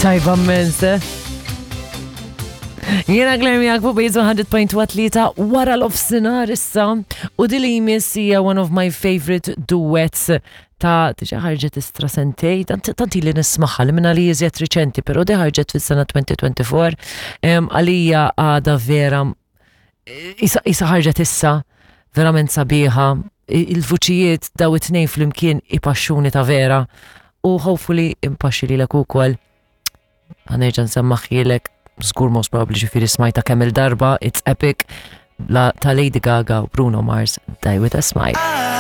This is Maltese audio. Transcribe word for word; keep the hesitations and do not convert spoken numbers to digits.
Tajba immens, eh? Jiena Claire miegħek fuq Base one hundred point three wara nofsinhar issa u din li jmiss hija one of my favorite duets ta' diġa ħarġet istra sentejn, tant tant li nismagħha li minna li iżjed riċenti, pero di ħarġet fis-sena elfejn u erbgħa u għoxrin. Em, għalija għada vera isa, isa ħarġet issa, verament sabiħa, I- il-vuċijiet daw it-tnejn flimkien ipaxxuni ta' vera u hopefully impaxxi lilek ukoll. Ħa nerġa' nsemmagħhielek, żgur most probably ġifieri smajtha kemm il-darba, it's epic, la ta' Lady Gaga u Bruno Mars, "Die With a Smile".